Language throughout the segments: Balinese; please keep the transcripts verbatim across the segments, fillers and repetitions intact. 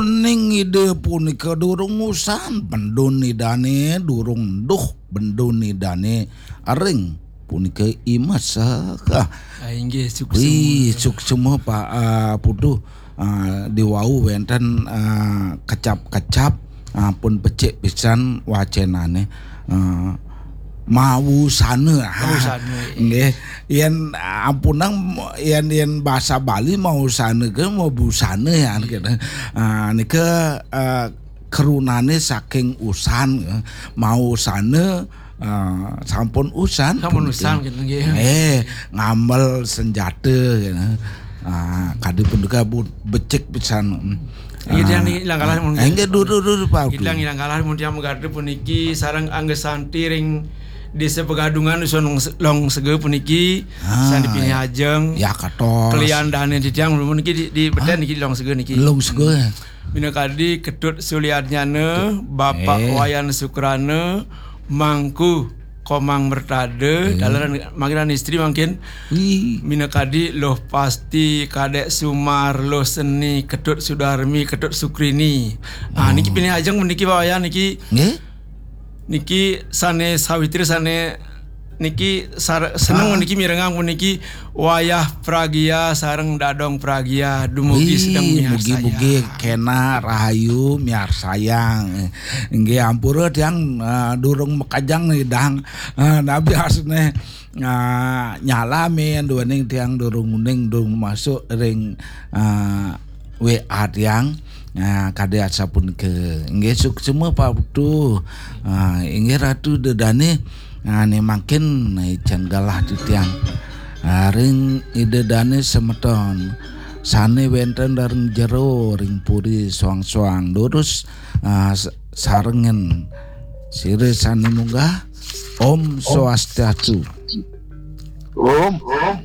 Ning Ida punika durung usan, bendun Idane durung duh, bendun Idane ring punika imes. Ah, Ah, inggih, suksma. Wih, suksma, Pak, ah, Putu. Ah, diwau wenten, ah, kecap-kecap, ah, pun becik pisan wacenane. Ah, mawusana. Ah, mawusana, iya. Nggih. Yen ampunang, yen, yen basa Bali mawusana ke mabusana ya, gitu. Ah, nika, ah, kerunane saking usan, eh, mawusana, ah, sampun usan. Sampun punika. Usan, gitu, nggih. Eh, ngamel senjata, gitu. Ah, kadi punika bu-, becik pisan. Hmm. Inggih, tiang niki langkalah mun. Ah, inggih, durus, durus, Pak. Inggih, tiang langkalah mun tiang magardu puniki sareng Angga Santi ring Desa Pegadungan, Dusun Long-, Longsega puniki. Ah, sandi pinih ajeng. Ya, katos. Kelian dane titiang puniki di, di beten niki di Longsega niki. Longsega, ya. Minakadi Ketut Suliarnyana, Bapak, eh, Wayan Sukrana, Mangku Komang Mertada, eh, dalan manggiran istri mangkin. Wih. Minakadi Luh Pasti, Kadek Sumar, Luh Seni, Ketut Sudarmi, Ketut Sukrini. Ah, niki, oh, pinih ajeng niki, Pak Wayan niki. Nggih? Niki sane sawitri sane niki sar-, seneng, ah, niki mirengang puniki wayah pragia sareng dadong pragia dumugi. Wih, sedeng miarsayang. Mugi-mugi kena rahayu miarsayang. Inggih, ampura tiang, ah, durung makejang nidang. Ah, nabi asne, ah, nyalami duaning tiang durung uning durung masuk ring, ah, W A tiang. Ah, kadi asapunika. Inggih, suksma, Pak Putu. Ah, inggih, Ratu Ida Dane. Ah, ne mangkin, ah, ican galah titiang. Ah, ring Ida Dane semeton sane wenten ring jero ring puri soang-soang, durus, ah, s-, sarengan sira sane munggah. Om Swastiastu. Om, Om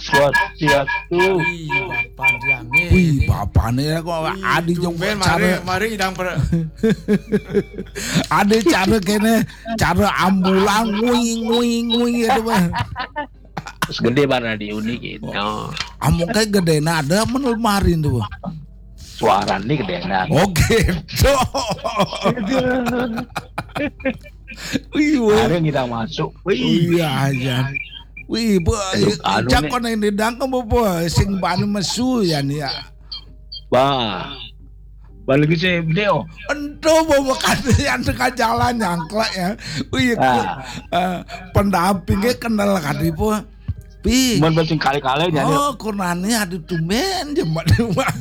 Swastiastu. Wih, bapane. Wih, bapane kok. Wih, adi tumben cara mari, mari idang per- adi cara kene, cara ambulang, nguing, nguing, nguing, gitu, Bang. Terus gede banget diuni gitu. Amung kayak gede nada men lemari tuh, Bang. Suarane gede nada. Oh, gitu. Wih, wih. Ada kita masuk. Wih. Oh, iya, aja. Wih, bu, aduh, anu nih. Jakon yang didangkem apa? Sing bani mesu ya nih ya. Bah. Balik ke C M D, oh. Ento, bu, bukan yang tengah jalan nyangklek ya. Wih, ah, eh, pendampingnya kenal kadi, Bu. Pi. Mun sing kali-kali jadi. Oh, kunani aduh tumben jemet.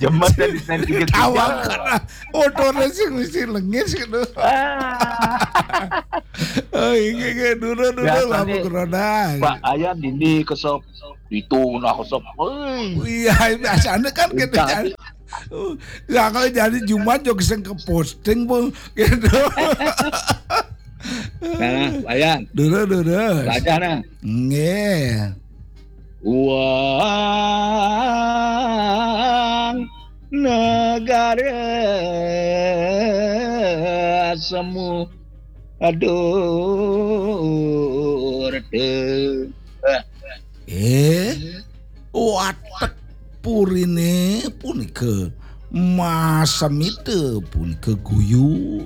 Jemet dari, dari tiga. Tawang karena motornya sing mesti lengis gitu. Ah. Oh, iya, iya, dulu, dulu, biasanya lamun corona. Pak Ayan dini kesop, itu nah kesop. Wih. Iya, biasanya kan gitu kan. Uh, ya kalau jadi Jumat juga sing ke posting, Bu, gitu. Nah, Wayan. Dulu, dulu. Baca nah. Nggih. Uang negara semu adur. Eh. Eh, watek purine punika masemita punika guyu.